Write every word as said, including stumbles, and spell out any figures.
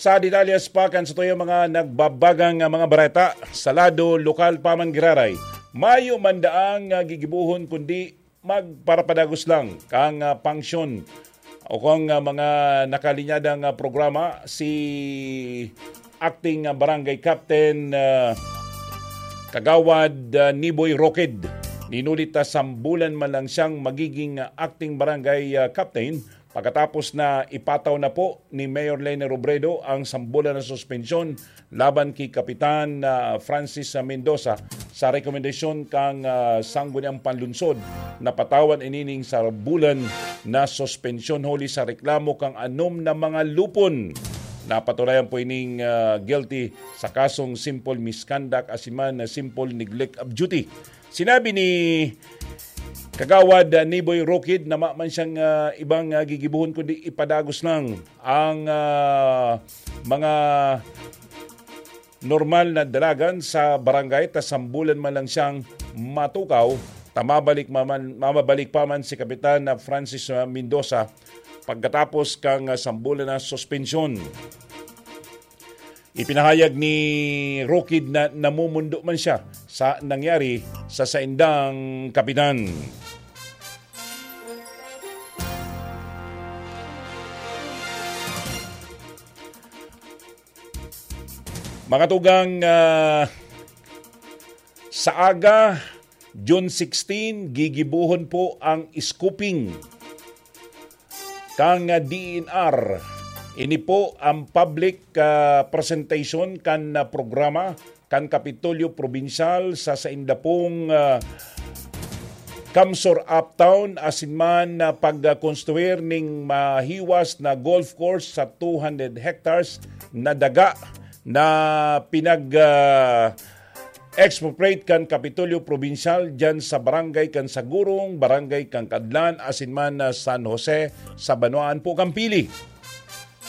Sa detalyes pa kan satuyang mga nagbabagang, ah, mga bareta, sa lado lokal pa man giraray, mayo man daang, ah, gigibohon kundi magparapadagos lang kang, ah, pangsyon o kung, ah, mga nakalinyadang, ah, programa si Acting, ah, Barangay Captain, ah, Kagawad, ah, Niboy Rokid. Ninulit na sambulan man lang siyang magiging, ah, Acting Barangay, ah, Captain pagkatapos na ipataw na po ni Mayor Leni Robredo ang sambulan na suspensyon laban ki Kapitan, ah, Francis Mendoza sa rekomendasyon kang, ah, Sangguniang Panlunsod. Napatawan inining sambulan na suspensyon huli sa reklamo kang anom na mga lupon. Napatunayan po ining, ah, guilty sa kasong simple misconduct asin man na simple neglect of duty. Sinabi ni Kagawad, ah, Niboy Rokid na mayo man siyang, ah, ibang, ah, gigibohon kundi ipadagos lang ang, ah, mga normal na dalagan sa barangay ta sambulan man lang siyang matukaw ta mabalik maman, mamabalik pa man si Kapitan na Francis, ah, Mendoza pagkatapos kang, ah, sambulan na suspensyon. Ipinahayag ni Rokid na namumundo man siya sa nangyari sa saindang kapitan. Mga tugang, ah, sa aga, June sixteen, gigibohon po ang scooping kang, ah, D E N R. Ini po ang public, ah, presentation kan, ah, programa kan Kapitolyo Probinsyal sa sainda pong, ah, Kamsor Uptown asin man, ah, pagkonstruir ning mahiwas na golf course sa two hundred hectares na daga na pinag, ah, expropriate kan Kapitolyo Probinsyal diyan sa barangay kan Sagurong, barangay kan Kadlan, asin man na San Jose sa banwaan po kan Pili.